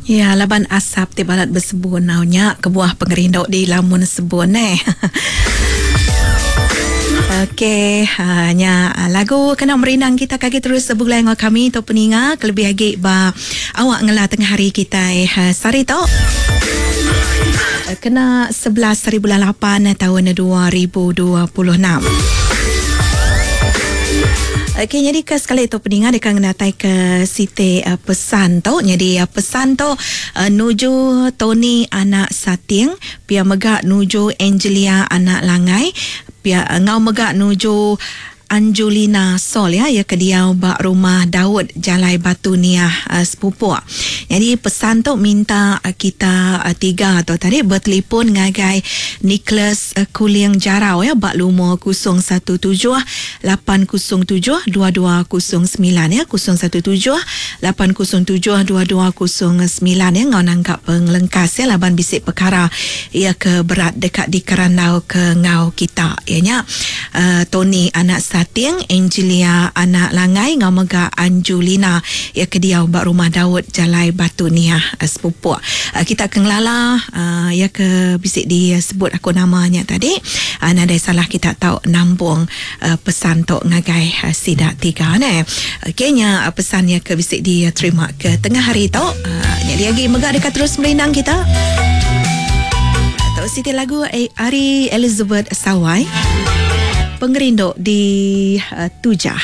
Ya laban asap ti balat besebun au nya kebuah pengerindu di lamun sebun neh. Okey ha nya lagu kena merindang kita ke agi terus begulai enggau kami tu peninga kelebih agi ba awak ngela tengah hari kitai sehari tu. Kena 11 hari bulan 8 taun 2026. Okey nyadi ke sekali tu peninga deka ngenatai ke siti uh, pesan tu. Nyadi uh, pesan tu uh, nuju Tony anak Sating, pia mega nuju Angelia anak Langai, pia enggau mega nuju Anjulina Sol ya iya ke diau ba Rumah Daud Jalai Batu Niah Sepupok. Nyadi pesan tu minta kita tiga tu tadi betelipon ngagai Nicholas Kuling Jarau ya ba lumur 017 807 2209 ya 017 807 2209 ya enggau nangka pengelengkas ya laban bisi pekara iya ke berat deka dikerandau ke enggau kita iya nya. Tony anak Sating, Angelia anak Langai enggau mega Anjulina iya ke diau ba Rumah Daud Jalai Batu Niah Sepupok. Kita ke ngelala iya ke bisi disebut aku nama nya tadi nadai salah kita tau nampung pesan tu ngagai sida tiga neh. Okey nya pesan iya ke bisi diterima ke tengah hari tu. Nyadi agi mega deka terus merindang kita. Tu siti lagu ari Elizabeth Sawai. Pengerindu di uh, Tujah.